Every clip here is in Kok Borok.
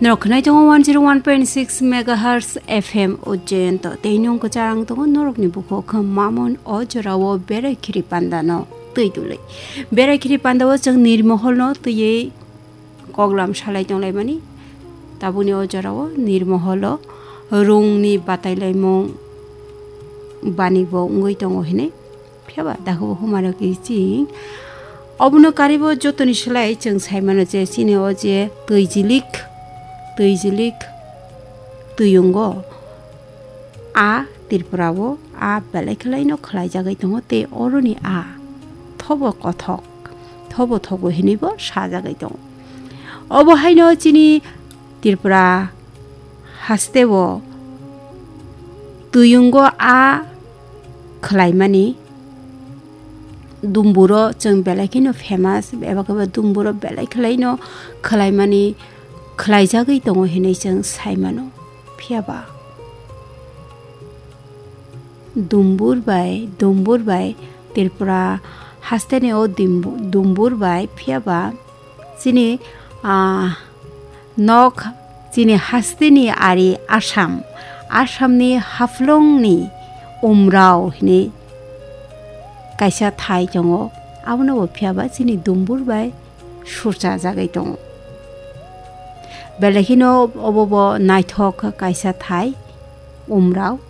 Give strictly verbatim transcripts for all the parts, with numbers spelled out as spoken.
Norok khwnai tongo one zero one point six megahertz F M Ujjayanto. Tei nung kwchang tongo norokni bukhuk khe mamon o jorao berai khiri pandano twi dulwi. Berai khiri pandao chwng nirmoholno twiwi koklam salai tonglaimani. Tabukni o jorao nirmoholo rungni batailaimung banibo wngwi tongo hinwi. Phiya ba dakhabo humarok kiching. Obono karibo jotoni slai chwng sai mano je chini o je twijilik, twijilik twiyungo a Tripura o a belai khwlaino khwlaijagwi tongo tei oroni a thobo kothok, thobo thogo hinwibo sajagwi tongo. Obo haino chini Tripura hasteo twiyungo a khwlaimani dumburo chwng belai kheno famous, eba khe bo dumburo belai khwlaino khwlaimani khwlaijagwi tongo hinwi chwng sai mano. Phiya ba dumbur bai, dumbur bai Tripura hasteni o dimbu-, dumbur bai phiya ba chini, ah, nok chini hasteni ari Assam, Assamni Haflongni Umrao hinwi kaisa thai tongo. Abono bo phiya ba chini dumbur bai surchajagwi tongo. Belai kheno obo bo naithok kaisa thai Umrao.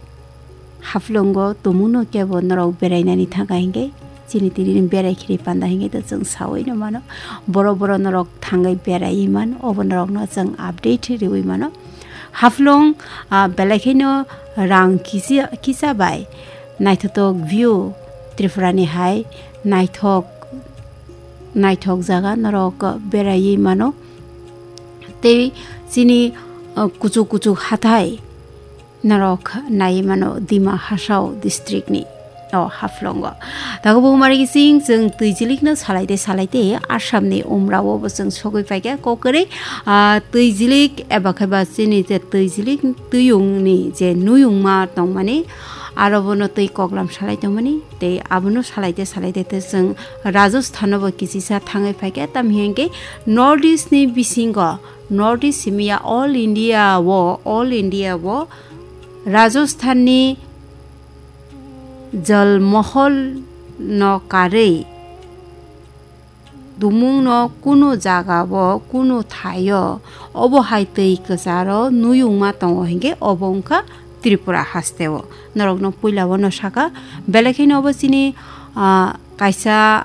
Haflongo tumungno kebo norok berainani thangkha hinkhe chini tini berai khiri panda hinkhe to chwng saui no mano. Borok borok norok thangwi beraiwi man, obo norokno chwng update riui mano. Haflong, ah, belai kheno rang kisi-, kisa bai naithotok view Tripurani hai naithok, naithok jaga norok beraiwi mano. Tei chini, ah, kuchuk kuchuk hathai norok nai mano Dima Hasao district ni o Haflongo. Tago bo mari kising chwng twijilik no salai de salai de Assam ni Umrao bo chwng sogwi paikha kokori, ah, twijilik eba khe ba chini je twijilik twiyung ni je nuyung ma tongmani aro bono twi koklam salai tongmani tei abono salai de salai de te chwng Rajasthan o bo kisisa thangwi paikha tam hinkhe North East ni bisingo North East simiya all India o, all India o Rajasthan ni Jalmohol no karwi tumung no kunu jaga o, kunu thai o, obo hai twi kwcharo nuyung ma tongo hinkhe obo wngkha Tripura haste o. Norok no puila o no saka, belai kheno obo chini, ah, kaisa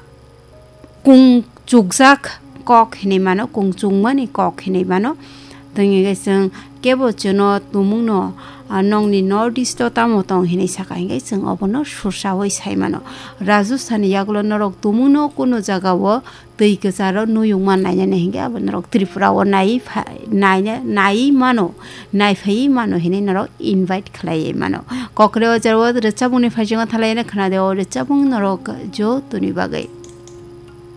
kung chukjak kok hinwi mano, kung chungmani kok hinwi mano. Tei hwnkhe chwng kebo chwngno tumungno, ah, nokni North East o tamo tong hinwi saka hinkhe chwng obono sursaui sai mano. Rajasthan ni yagulo norok tumungno kunu jaga o twi kwcharo nuyungma nainani hinkhe abo norok Tripura o naiwi pha-, naina-, naiwi mano, naiphaiwi mano hinwi norok invite khlaiwi mano. Kokre o jaro rwchapmungni phaisingo thalai khna de o rwchapmung norok jotoni bagwi.